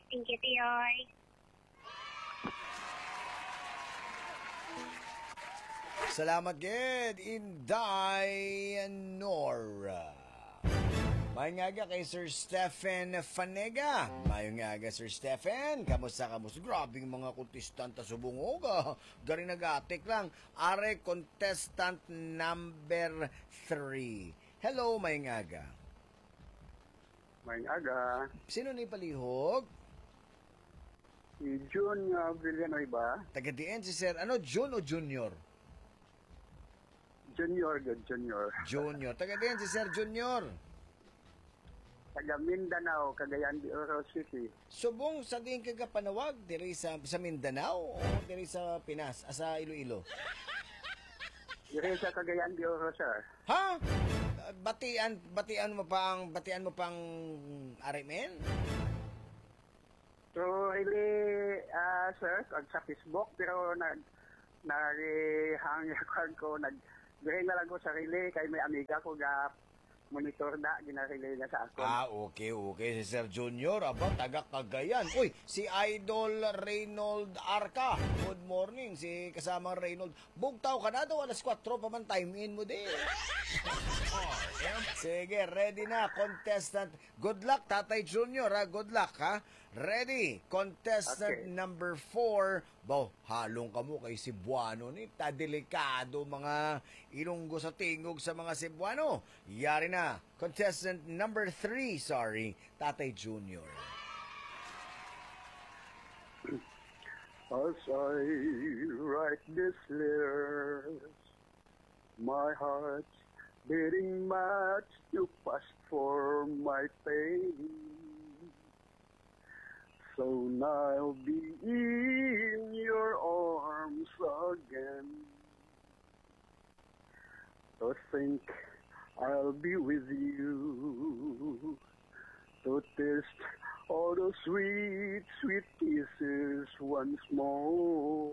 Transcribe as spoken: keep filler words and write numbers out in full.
Thank you, Tiyoy. Salamat gid, Inday Nora. May nga aga kay Sir Stephen Fanega. May nga aga, Sir Stephen. Kamusta, kamusta? Grabe yung mga kontestante subong, oh. Gari nagatik lang. Are contestant number three. Hello, may nga aga. May aga. Sino ni palihog? Si Jun nga Villanueva. Taga diin si Sir, ano, Jun o Junior? Junior, good, Junior. Junior. Taga diin si Sir Junior? Taga Mindanao, Cagayan de Oro City. Subong sa diin ka gapanawag, diri sa, sa Mindanao o diri sa Pinas, ah, sa Iloilo? Diri sa Cagayan de Oro, sir. Ha? Batian, batian mo pa ang, batian mo pang R M N? Through relay, ah, sir, kag sa Facebook, pero nag-, nag-hang yung account ko, nag-, diri na lang ko sa relay, kay may amiga ko nga monitor na, gina-relay na sa akon. Ah, okay, okay. Si Sir Junior, aba, taga Cagayan. Uy, si Idol Reynold Arca. Good morning, si kasamang Reynold. Bugtaw ka na daw, alas kwatro pa man, time in mo di. Sige, ready na, contestant. Good luck, Tatay Junior, ha? Good luck, ha? Ready, contestant Okay. number four. Baw, halong kamo kay Cebuano ni. Ta delikado mga Ilonggo sa tingog sa mga Cebuano. Yari na, contestant number three, sorry, Tatay Junior. As I write this letter, my heart's beating much too fast for my pain. Soon I'll be in your arms again. To think I'll be with you. To taste all those sweet, sweet kisses once more.